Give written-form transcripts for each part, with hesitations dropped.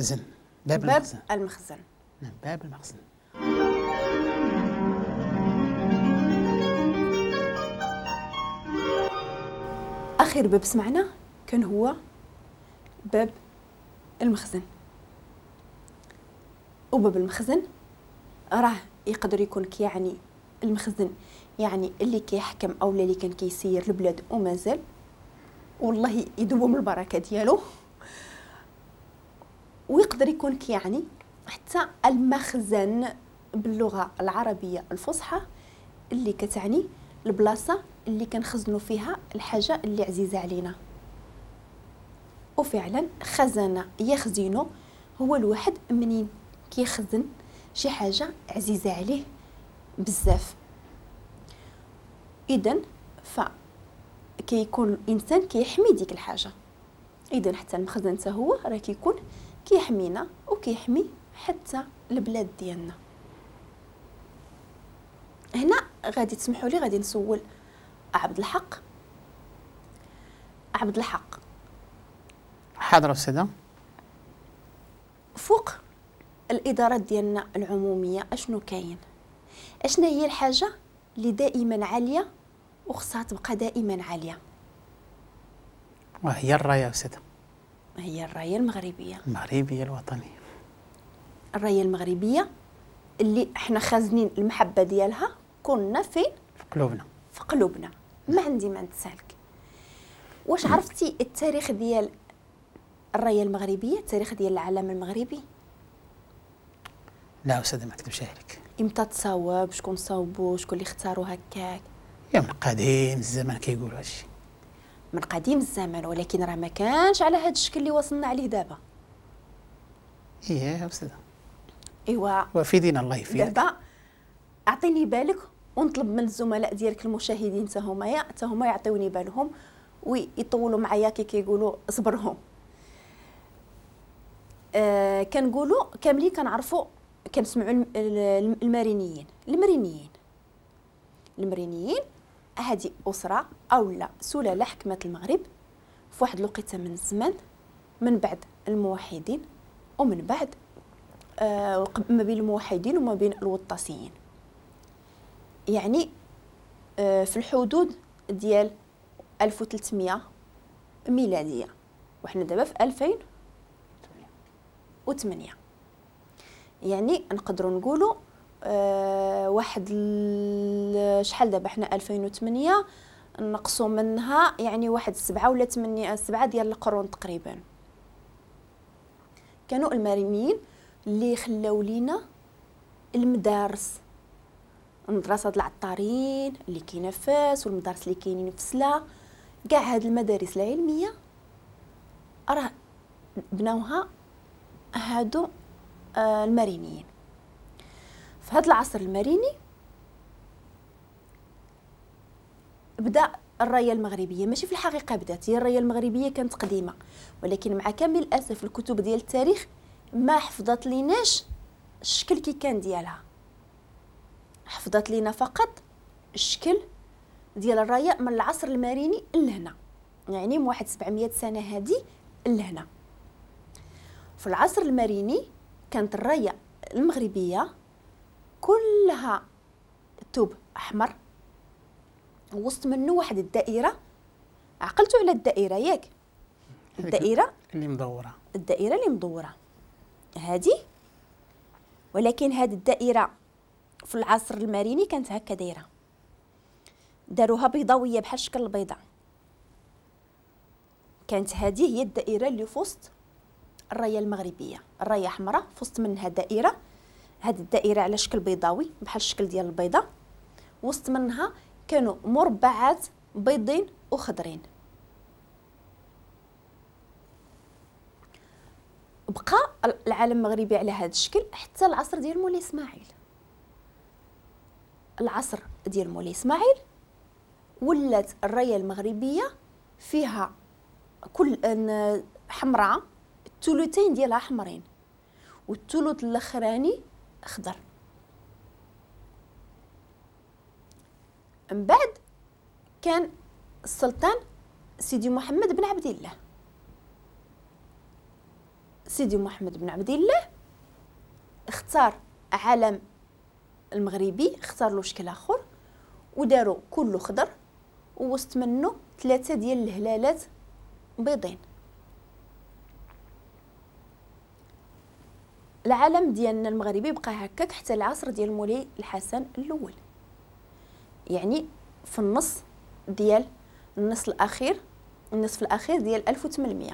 زن. باب المخزن. المخزن. نعم، باب المخزن. اخر باب سمعنا كان هو باب المخزن. وباب المخزن راه يقدر يكون كيعني المخزن، يعني اللي كيحكم او اللي كان كيسير البلاد ومازال، والله يدوم البركة ديالو. ويقدر يكون كيعني حتى المخزن باللغة العربية الفصحى اللي كتعني البلاصة اللي كنخزنوا فيها الحاجة اللي عزيزه علينا. وفعلا خزن يخزن هو الواحد منين كيخزن شي حاجة عزيزه عليه بزاف. اذا فكيكون الانسان كيحمي ديك الحاجة. اذا حتى المخزن حتى هو راه كيكون كيحمينا وكيحمي حتى البلاد ديالنا. هنا غادي تسمحوا لي غادي نسول عبد الحق. عبد الحق. حاضر أستاذة. فوق الإدارات ديالنا العمومية أشنو كاين؟ أشنا هي الحاجة اللي دائما عالية وخصها تبقى دائما عالية؟ وهي الراية أستاذة. هي الراية المغربية. المغربية الوطنية. الراية المغربية اللي احنا خازنين المحبة ديالها كنا فين؟ في قلوبنا. في قلوبنا. ما عندي ما نتسالك. واش عرفتي التاريخ ديال الراية المغربية، التاريخ ديال العالم المغربي؟ لا أستاذة ما نكذبش عليك. امتى تصاوب؟ شكون صاوبو؟ شكون اللي اختاروا هكاك؟ يا من قديم الزمان كيقولوا هادشي. من قديم الزمان، ولكن راه ما كانش على هذا الشكل اللي وصلنا عليه دابا. ايه أستاذة. ايوا وفيدينا الله يفيدك. دابا اعطيني بالك ونطلب من الزملاء ديالك المشاهدين حتى هما يعطيوني بالهم ويطولوا معايا كي كيقولوا صبرهم. كنقولوا كاملين كنعرفوا، كنسمعوا المرينيين. المرينيين هذه أسرة أو لا سلالة حكمت المغرب في واحد الوقيته من الزمان، من بعد الموحدين ومن بعد ما بين الموحدين وما بين الوطاسيين، يعني في الحدود ديال 1300 ميلادية، وحنا دابا في 2008. يعني نقدروا نقولوا واحد شحال دابا حنا 2008 نقصوا منها يعني واحد 7 ولا 8، 7 ديال القرون تقريبا. كانوا المرينيين اللي خلاو لينا المدارس، المدرسة العطارين اللي كاينه في فاس والمدارس اللي كاينين في سلا، كاع هاد المدارس العلمية راه بناوها هادو المرينيين. في هذا العصر المريني بدا الراية المغربية، ماشي في الحقيقة بدات، هي الراية المغربية كانت قديمة، ولكن مع كامل الاسف الكتب ديال التاريخ ما حفظت ليناش الشكل كي كان ديالها، حفظت لينا فقط الشكل ديال الراية من العصر المريني لهنا، يعني من واحد 700 سنة هذه لهنا. في العصر المريني كانت الراية المغربية كلها ثوب احمر وسط منه واحد الدائرة. عقلتوا على الدائرة ياك؟ الدائرة اللي مدورة، الدائرة اللي مدورة هذه، ولكن هذه الدائرة في العصر المريني كانت هكا دايرة، داروها بيضاويه بحال شكل البيضة. كانت هذه هي الدائرة اللي في وسط الراية المغربية، الراية حمراء في وسط منها دائرة، هذه الدائرة على شكل بيضاوي بحال الشكل ديال البيضة، وسط منها كانوا مربعات بيضين وخضرين. بقى العالم المغربي على هذا الشكل حتى العصر ديال مولاي اسماعيل. العصر ديال مولاي اسماعيل ولات الراية المغربية فيها كل حمراء، الثلثين ديالها حمرين والثلث الاخراني خضر. من بعد كان السلطان سيدي محمد بن عبد الله. سيدي محمد بن عبد الله اختار علم المغربي، اختار له شكل اخر وداروا كله خضر ووسط منه 3 ديال الهلالات بيضين. العلم ديالنا المغربي بقى هكاك حتى العصر ديال مولاي الحسن الاول، يعني في النص ديال النص الاخير، النصف الاخير ديال 1800.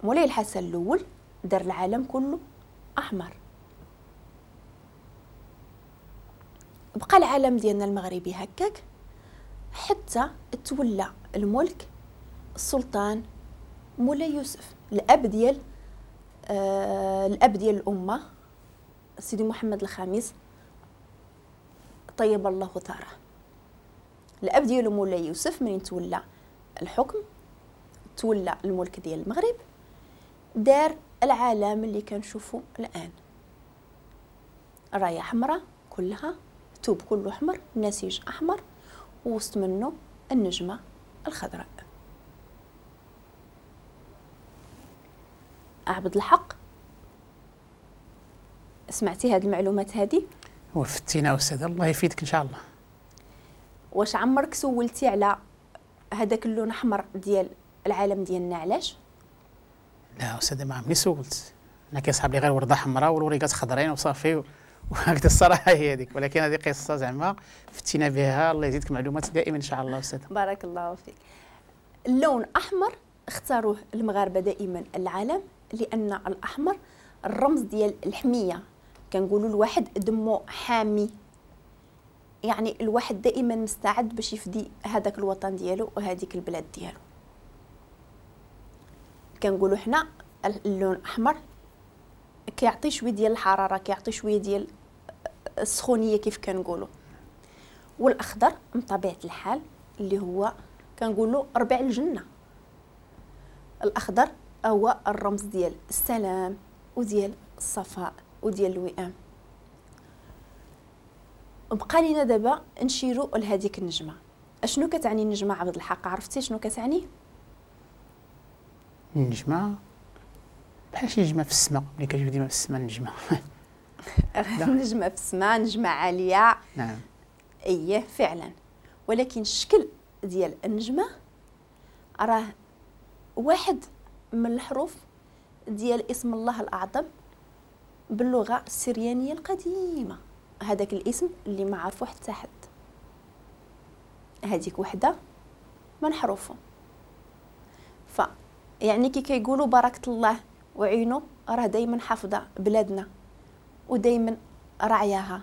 مولاي الحسن الاول دار العالم كله احمر. بقى العالم ديالنا المغربي هكاك حتى تولى الملك السلطان مولاي يوسف، الاب ديال الامة سيدي محمد الخامس طيب الله ثراه. الاب ديالو مولاي يوسف منين تولى الحكم، تولى الملك ديال المغرب، دار العالم اللي كنشوفو الان، رايه حمراء كلها، ثوب كله احمر، نسيج احمر، ووسط منه النجمة الخضراء. عبد الحق، سمعتي هاد المعلومات هادي؟ وفتينا أستاذ، الله يفيدك إن شاء الله. واش عمرك سولتي على هذاك اللون الاحمر ديال العالم ديالنا علاش؟ لا أستاذ، ما عمرني سولت. أنا كيصحاب لي غير وردة حمراء والوريقات خضرين وصافي وهكذا، الصراحة هي هذيك. ولكن هذه قصة زعما فتينا بها، الله يزيدك معلومات دائما إن شاء الله أستاذ. بارك الله فيك. اللون أحمر اختاروه المغاربة دائما العالم، لأن الأحمر الرمز ديال الحمية، كنقولوا الواحد دمه حامي، يعني الواحد دائما مستعد باش يفدي هذاك الوطن ديالو وهذيك البلاد ديالو. كنقولوا حنا اللون الاحمر كيعطي شوية ديال الحرارة، كيعطي شوية ديال السخونيه كيف كنقولوا. والاخضر من طبيعة الحال اللي هو كنقولوا ربيع الجنة. الاخضر هو الرمز ديال السلام وديال الصفاء وديال الوئام. بقى لينا دابا نشيروا لهذيك النجمة. اشنو كتعني النجمة عبد الحق؟ عرفتي شنو كتعني النجمة؟ بحال شي نجمه في السماء، ملي كتجي ديما في السماء النجمة. نجمه في السماء، نجمه عالية. نعم اييه فعلا. ولكن الشكل ديال النجمة راه واحد من الحروف ديال اسم الله الاعظم باللغة السريانية القديمة، هذاك الاسم اللي ما عرفو حتى حد، هذيك وحده من حروفه. ف يعني كي كيقولوا بركة الله وعينه راه دائما حافظه بلادنا ودائما رعياها،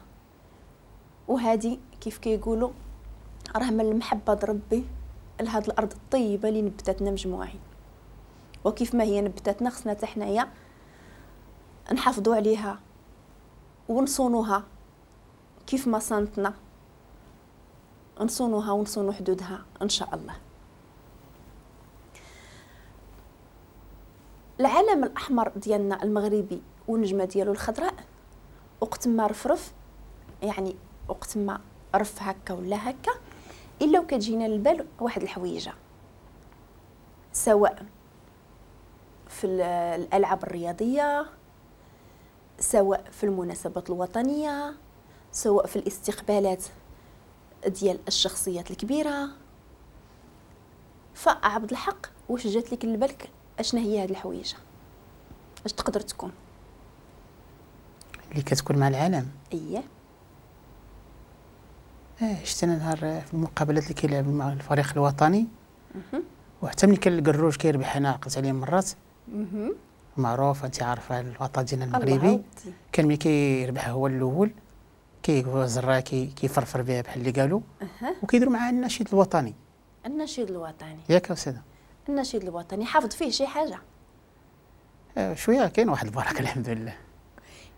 وهذه كيف كيقولوا راه من المحبة ربي لهاد الارض الطيبة اللي نبتتنا مجموعين. وكيف ما هي نبتتنا خصنا حتى حنايا نحافظوا عليها ونصونوها كيف ما صانتنا، نصونوها ونصونو حدودها ان شاء الله. العلم الاحمر ديالنا المغربي والنجمه ديالو الخضراء وقت ما رفرف، يعني وقت ما رف هكا ولا هكا، الا وكتجينا للبال واحد الحويجه، سواء في الالعاب الرياضية، سواء في المناسبات الوطنية، سواء في الاستقبالات ديال الشخصيات الكبيرة. فعبد الحق واش جات لك لبالك اشنا هي هاد الحويجه؟ اش تقدر تكون اللي كتكون مع العالم؟ اييه. شفت انا نهار في المقابلات اللي كيلعب مع الفريق الوطني، وحتى ملي كان الكروج كيربح، انا عقلت عليه مرات، معروف انت عارفه الوطن ديالنا المغربي، كان ملي كيربح هو الاول كيزرا كيفرفر بها بحال اللي قالوا، وكيديروا معاه النشيد الوطني. النشيد الوطني ياك استاذه؟ النشيد الوطني حافظ فيه شي حاجة؟ شوية كاين واحد البركة الحمد لله.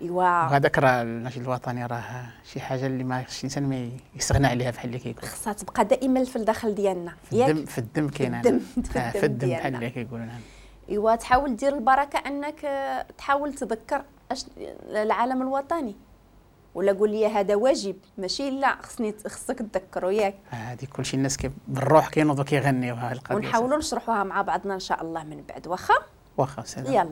ايوا وهذاك راه النشيد الوطني راه شي حاجة اللي ما خصش الانسان ما يستغنى عليها بحال اللي كيقول، خصها تبقى دائما في الداخل ديالنا. في الدم، في الدم كاين، في الدم بحال اللي كيقولوا. نعم. ايوا تحاول دير البركة انك تحاول تذكر العالم الوطني، ولا قول لي هذا واجب ماشي لا خصني خصك تذكروا ياك. هذه كلشي الناس بالروح كينوضوا كيغنيوها القضية، ونحاولوا نشرحوها مع بعضنا ان شاء الله من بعد. واخا واخا، سلام. يلا.